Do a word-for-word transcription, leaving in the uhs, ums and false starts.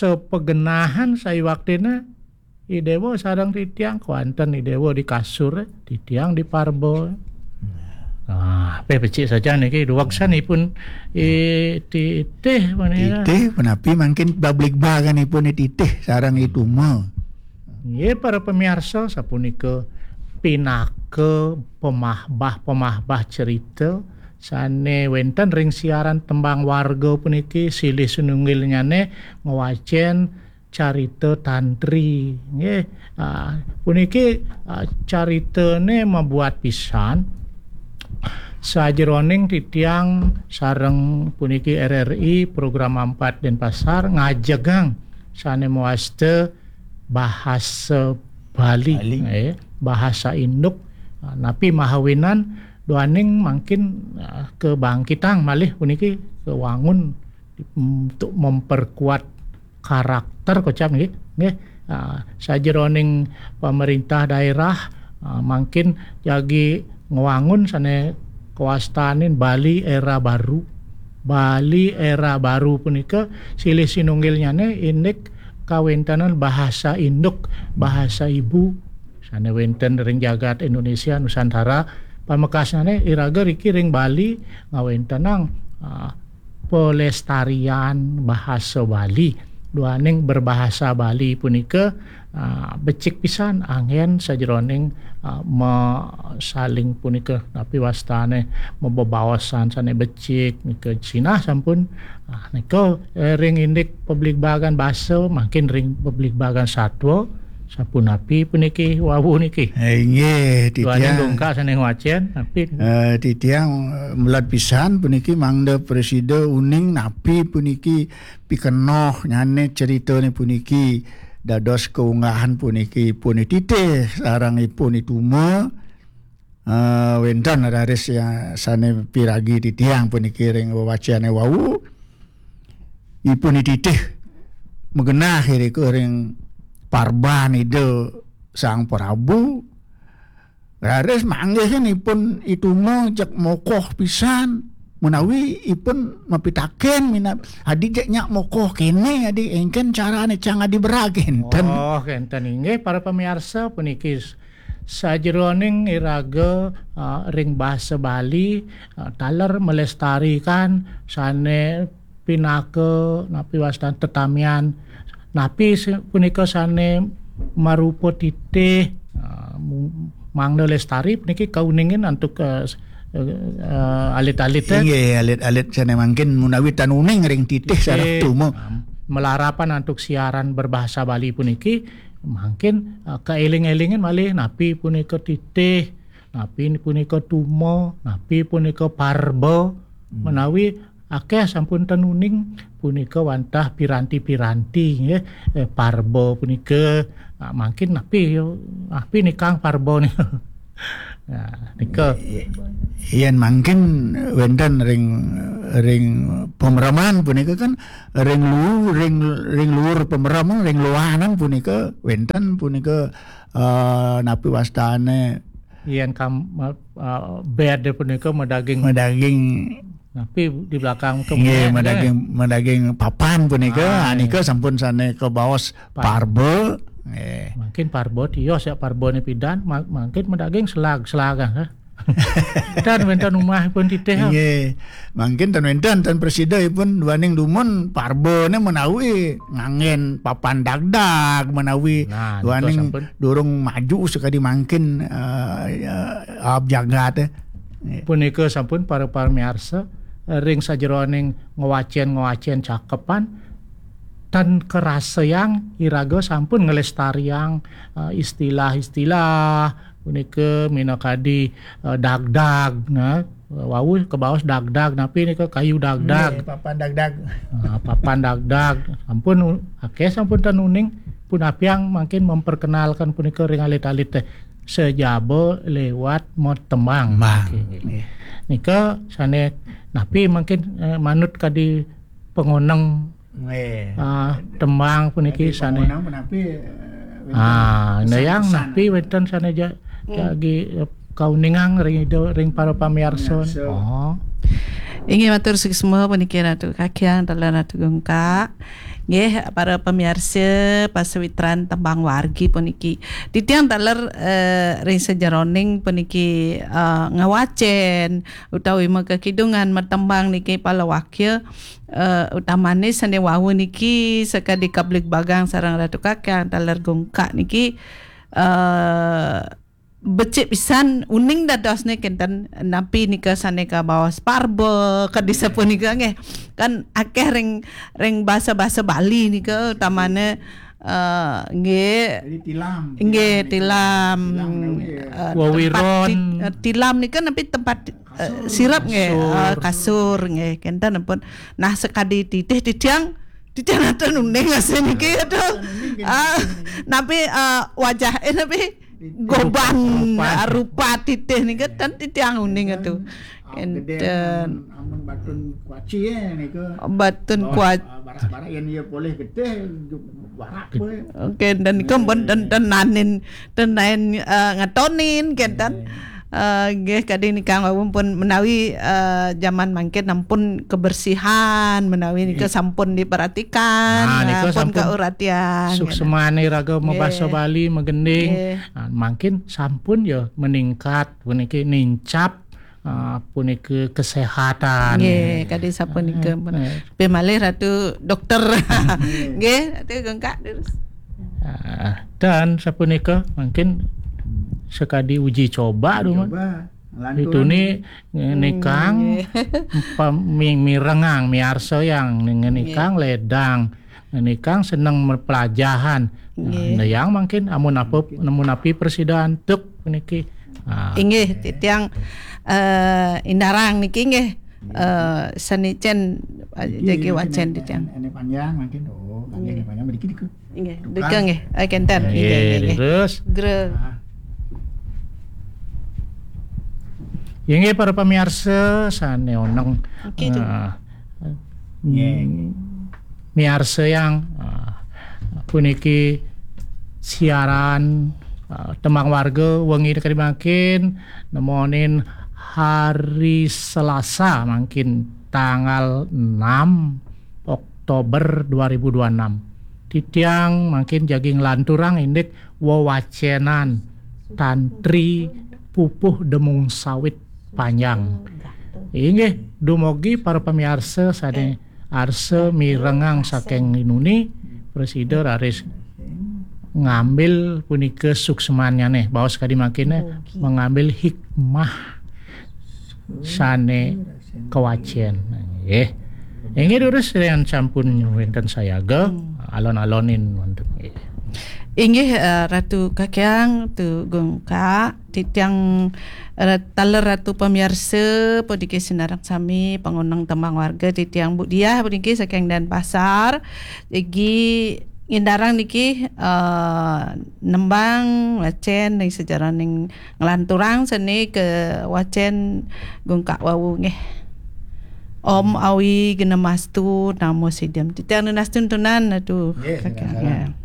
sapagenahan saiwaktina I Déwa sareng titiang, kawanten I Déwa di kasur, titiang di parba. Ah, pé becik saja niki duweksanipun I Titih menika. Titih, punapi mangkin pabligbaganipun I Titih sareng I Tuma? Nggih, para pamiarsa, sapunika pinaka pamahbah-pamahbah cerita sane wenten ring siaran Tembang Warga puniki, silih sinunggilnyane ngwacen carita tantri, nggih. Ah, puniki, ah, caritane mabuat pisan sajeroning titiang sareng puniki R R I Program empat Denpasar ngajegang sane mawasta bahasa Bali, Bali. Eh, bahasa induk. Ah, napi mahawinan duaning mangkin, ah, kabangkitang malih puniki, kawangun untuk memperkuat karakter kocap nggih, nggih. Ah, sajeroning pamerintah daerah, ah, mangkin jagi ngwangun sane kawastanin Bali Era Baru. Bali Era Baru punika silih sinunggilnyane indik kawentenan bahasa induk, bahasa ibu sane wenten ring jagat Indonesia Nusantara. Pamekasnyane iraga riki ring Bali ngawentenang, ah, pelestarian bahasa Bali. Duaning berbahasa Bali punika, ah, becik pisan anggen sajeroning, ah, ma-, saling punika, napi wastane, mabebaosan sane becik nika. Sinah sampun, ah, nika, eh, ring indik pabligbagan basa, mangkin ring pabligbagan satwa, sapunapi puniki wau niki? Eh, inggih, duaning titiang dongkak sane ngwacen, napi? Eh, titiang, eh, melad pisan puniki mangda prasida uning napi puniki pikenohnyane ceritane puniki dados kaunggahan puniki ipun I Titih sareng ipun I Tuma, eh, wenten raris ya sane piragi titiang puniki ring wewacane wau. Ipun I Titih magenah irika ring parban Ida Sang Prabu. Raris manggihin ipun I Tuma jeg mokoh pisan, menawi ipun mapitaken minab, adi jeg nyak mokoh kene, adi engken carane cang adi berag enten. Oh, enten inggih, para pamiarsa, puniki s-, sajeroning iraga, ah, ring basa Bali, ah, taler melestarikan sane pinaka napi wastan tetamian, napi se-, punika sane marupa titih, ah, mu-, mangda lestari puniki kauningin antuk, eh, s-, eh, eh, alit-alit, eh. Inggih, alit-alit sane mangkin menawi tan uning ring titih. Titih sareng tuma. Ah, malarapan antuk siaran berbahasa Bali puniki, mangkin, eh, kaeling-elingin malih napi punika titih, napi punika tuma, napi punika parba, hmm, menawi akeh sampun ten uning punika wantah piranti-piranti, nggih. Eh, parba punika, ah, mangkin napi, napi nikang parba nika? Nah, nika. Yen mangkin wenten ring, ring pamreman punika kan ring lu-, ring, ring luhur pamreman, ring luanan punika wenten punika, eh, napi wastane? Yen kam-, eh, bed punika madaging. Madaging. Napi di belakang ke nggih, bed, madaging, eh, madaging papan punika. Ah, ah, nika sampun sane kabaos par-, parba. Nggih. Mungkin parba tios ya, parbane pidan, ma-, mungkin madaging selag, selag, ah. Tan wenten umahipun titih, ah. Nggih. Mungkin tan wenten, tan prasida ipun duaning dumun parbane menawi nganggen papan dagdag menawi. Nah, nika duaning sampun. Durung maju sekadi mangkin, eh, ya, ab jagat, eh. Nggih. Punika sampun para pamiarsa, eh, ring sajeroning ngwacen-ngwacen cakepan, tan karasayang iraga sampun nglestariang, eh, istilah-istilah punika minakadi, eh, dagdag, nah, wau kabaos dagdag, napi nika kayu dagdag. Nggih, papan dagdag. Ah, papan dagdag. Sampun u-, akeh sampun ten uning, punapiang mangkin memperkenalkan punika ring alit-alit teh. Sajaba lewat matembang. Tembang. Nggih. Nggih. Nika sane napi mangkin, eh, manut kadi pangoneng, nggih, ah, tembang puniki. Kadi sane pangoneng punapi, eh, wenten ah, pesan-pesan. Napi wenten sane ja-, hmm, jagi, eh, kauningang ring ida, ring para pamiarsa. Pamiarsa. Oh. Inggih matur suksma puniki Ratu Kakiang, taler Ratu Gungkak. Nggih, para pamiarsa pasawitran tembang wargi puniki. Titiang taler, eh, ring sajeroning puniki, eh, ngawacen utawi makakidungan matembang niki palawakya, eh, utamane sane wau niki sakadi kabligbagang sareng Ratu Kakiang taler Gungkak niki, eh, becik pisan uning dadosne kenten napi nika sane kabaos parba kadi sapunika nggih. Kan akeh ring, ring basa-basa Bali nika utamane, eh, nggih. Jadi tilam, nggih, tilam nika. Tilam. Tilam nika, eh, wewiron. Tempat ti-, eh, tilam nika napi tempat, eh, kasur. Sirep nggih, kasur. Eh, kasur nggih. Kenten pun. Nah, sekadi titih titiang, titiang nenten uning asih niki, aduh. Nenten uning, ah, nggih. Napi, eh, wajah, eh, napi goban, rupa, rupa titih nika ten titiang uning atu. Kenten. Amun batun kuaci ya nika. Batun kuaci. Barak-barak yen iya polih getih, barak kowe. Oke, dan nika pun ten-, tenanin, tenain, eh, ngatonin, kenten. Eh, nggih, kadi nika wau pun menawi, eh, jaman mangkin ampun kebersihan, menawi nika sampun diperhatikan, nah, nika eh, pun sampun kauratian, kenten. Suksmane raga mabasa Bali magending. Nggih. Ah, mangkin sampun ya meningkat puniki nincap, ah, punika kesehatan. Nggih, kadi sapunika. Eh, eh. Pe malih Ratu Dokter. Nggih, Ratu Gungkak terus. Ah, dan sapunika mungkin sekadi uji coba dulu. Coba. Itu ni ngenikang, hmm, nggih. Pam-, mi-, mirengang, miarsa yang ngenikang, nggih, ledang, ngenikang seneng pelajahan. Nggih. Nah, yang mungkin amun apa, mungkin. Amun api prasida antuk niki. Ah. Inggih, titiang, eh, indarang niki nggih. Eh, sane cen, eh, jagi wacen titiang. Ene panjang mungkin, oh, kami ene panjang mriki diku. Inggih, tukang. Dika nggih. Eh, kenten. Inggih, inggih, inggih. Terus. Gre. Ah. Inggih para pamiarsa sane oneng. Oke, Cuk. Eh, nggih. Miarsa yang, ah, puniki siaran, ah, Tembang Warga wengi kadi mangkin nemonin hari Selasa mangkin tanggal enam Oktober dua ribu dua enam. Titiang mangkin jagi nglanturang indik wewacenan tantri pupuh demung sawit panjang. Inggih, dumugi para pamiarsa sane arsa mirengang saking inuni, prasida raris ngambil punika suksmanyane, baos kadi mangkene, mugi mengambil hikmah sane kawacen. Nggih. Inggih durus yen sampun wenten sayaga, hmm, alon-alonin wonten. Nggih. Inggih, eh, Ratu Kakiang, Tu Gungkak, titiang, eh, taler Ratu pamiarsa, puniki sinareng sami, pangoneng Tembang Warga, titiang Bu Diah, puniki saking Denpasar. Jagi ngindarang niki, eh, nembang, wacen, ring sajeroning nglanturang sane kawacen Gungkak wau nggih. Om Awi Genemastu Namo Sidam. Titiang nunas tuntunan, aduh, nggih, Kakiang, nggih.